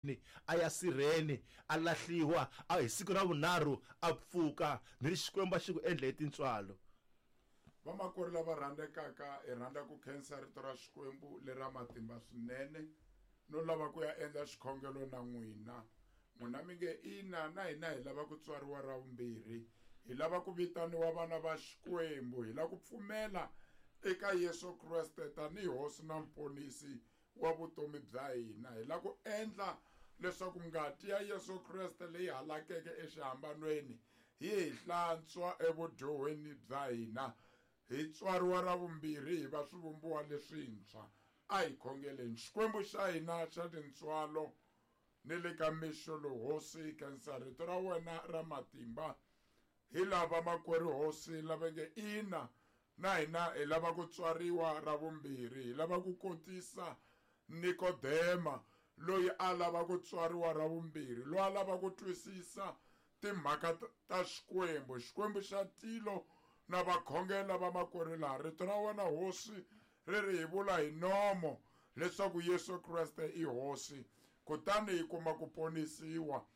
Ni a ya sirheni a lahliwa a hi siku ra vunharhu a pfuka ni ri Xikwembu a xi ku endle hi tintswalo. Vamakwerhu lava rhandzekaka, hi rhandza ku khensa rito ra Xikwembu lera matimba swinene no lava ku ya endla xikhongelo na n'wina. N'wina mi nge, Ina, na hina hi lava ku tswariwa ra vumbirhi. Hi lava ku vitaniwa vana va Xikwembu. Hi lava ku pfumela eka Yesu Kreste tanihi Hosi na Muponisi wa vutomi bya hina. Hi lava ku endla leswaku ngati ya Yesu Kreste leyi halakeke exihambanweni yi hi hlantswa evudyohweni bya hina, hi tswariwa ra vumbirhi hi va swivumbiwa leswintshwa. A hi khongeleni. Xikwembu xa hina xa tintswalo ni le ka mixo lowu, Hosi, hi khensa rito ra wena ra matimba. Hi lava makwerhu Hosi lava nge, Ina, na hina hi lava ku tswariwa ra vumbirhi. Hi lava ku kotisa Nikodema loyi a lava ku tswariwa ra vumbirhi, loyi a lava ku twisisa timhaka ta Xikwembu, Xikwembu xa tilo na vakhongela vamakwerhu laha. Rito ra wena Hosi ri ri hi vula hi nomo leswaku Yesu Kreste i Hosi, kutani hi kuma ku ponisiwa.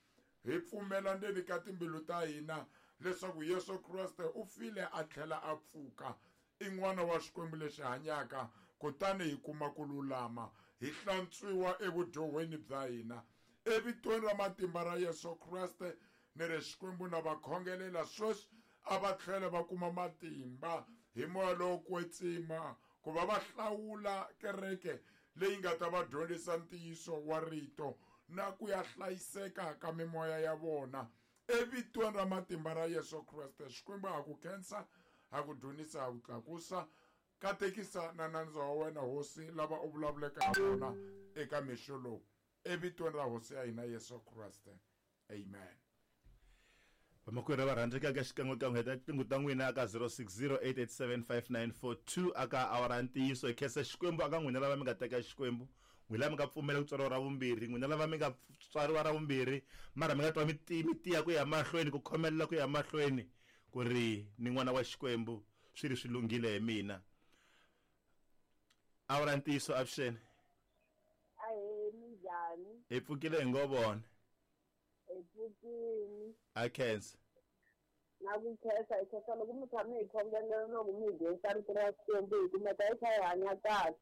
Hi pfumela ndzeni ka timbilu ta hina leswaku Yesu Kreste u file a tlhela a pfuka, i N'wana wa Xikwembu lexi hanyaka, kutani hi kuma ku lulama, hi hlantswiwa evudyohweni bya hina. Evitweni ra matimba ra Yesu Kreste, ni ri Xikwembu na va khongelela sweswi, a va tlhele va kuma matimba hi Moya lowo Kwetsima ku va va hlawula kereke leyi nga ta va dyondzisa ntiyiso wa Rito na ku ya hlayiseka ka mimoya ya vona. Evitweni ra matimba ra Yesu Kreste, Xikwembu ha ku khensa, ha ku dzunisa, ha ku tlakusa. Katekisa na nandza wa wena, Hosi, lava u vulavuleke ha vona eka mixo lowu. Evitweni ra Hosi ya hina Yesu Kreste. Amen. Vamakwerhu lava rhandzekaka, xikan'wekan'we heta tinqingho ta n'wina aka 0608875942 aka awara ya ntiyiso. Hi khensa Xikwembu aka n'wina lava mi nga teka Xikwembu, n'wina lava mi nga pfumela ku tswariwa ra vumbirhi, n'wina lava mi nga tswariwa ra vumbirhi mara mi nga twa mi mi tiya ku ya mahlweni, ku khomelela ku ya mahlweni ku ri ni n'wana wa Xikwembu, swi ri swi lunghile hi mina. Awara ya ntiyiso, avuxeni. Ahee, minjhani? Hi pfukile hi ngo vona. Hi pfukile. A khensa. Na ku khensa, hi khensa loko mi tshame hi khongelela loko mi hi dyondzisa rito ra Xikwembu hi kumeka hi kha hi hanya kahle.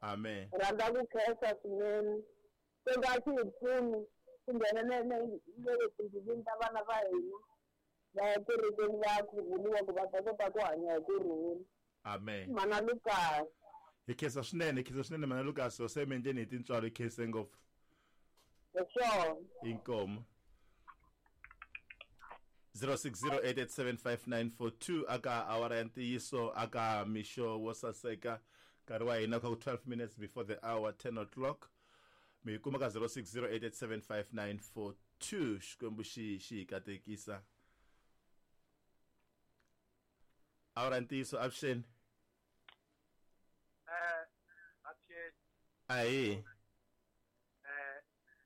Amen. Rhandza ku khensa swinene. Se nga xi hi pfuni ku nghena na na le timbilwini ta vana va hina va ya kerekeni va ya khuvuriwa ku va ta kota ku hanya hi ku rhula. Amen. Mana Lucas. Hi khensa swinene, hi khensa swinene mana Lucas, hosi emendleni hi tintswalo, hi khense ngopfu. Hi swona. Inkomo. 0608875942 aka awara ya ntiyiso aka mixo wo saseka nkarhi wa hina kha ku 12 minutes before the hour 10 o'clock mi kuma ka 0608875942 Xikwembu xi xi hi katekisa. Awara ya ntiyiso, avuxeni. Avuxeni. Ahee.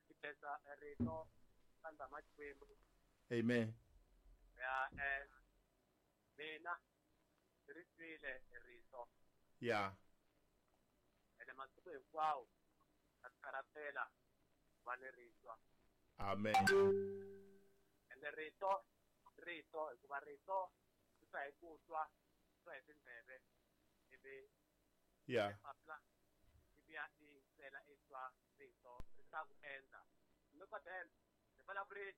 Hi khensa rito ra Ndzama Xikwembu. Amen. Ya, mina ri twile rito. Ya. Ene masiku hinkwawo na tikarhatela va ni ritwa. Amen. Ene rito, rito, hikuva rito ri twa hi ku twa, ri twa hi tindleve, ivi Ya. papila ivi ya tiyisela i twa rito ri ta ku endla. Nikodemo ri vulavuri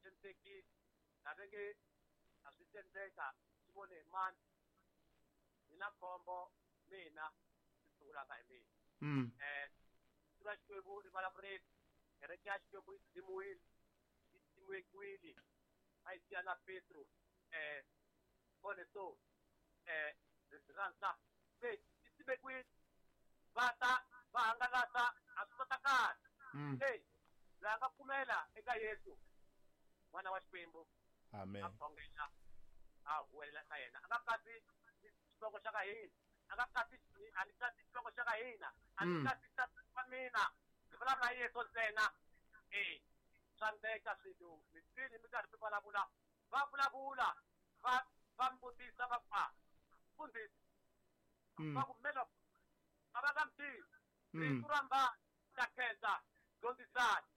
xinisekile, a va nge a swi tendeka swi vone hi mani, ni na khombo mina swi sungulaka hi mina. Rito ra Xikwembu ri vulavurile, kereke ya Xikwembu yi dzimiwile, yi simekiwile, a yi siya na Petro, vone so, rhandza se yi simekiwile, va ta va hangalasa a swi kotakali. Se loyi a nga pfumela eka Yesu n'wana wa Xikwembu, Amen. a khongela a huwelela ka yena, a nga katsi xivongo xa ka hina, a nga katsi, a ni katsi xivongo xa ka hina, a ni katsi tata wa mina, ndzi vulavula hi Yesu ntsena. Swa ndleka swilo mi twile mi karhi mi vulavula, va vulavula va va mi vutisa va ku, a mfundhisi, va ku melo a va nga mi tivi, rifu ra mbani ta khensa, dyondzisani.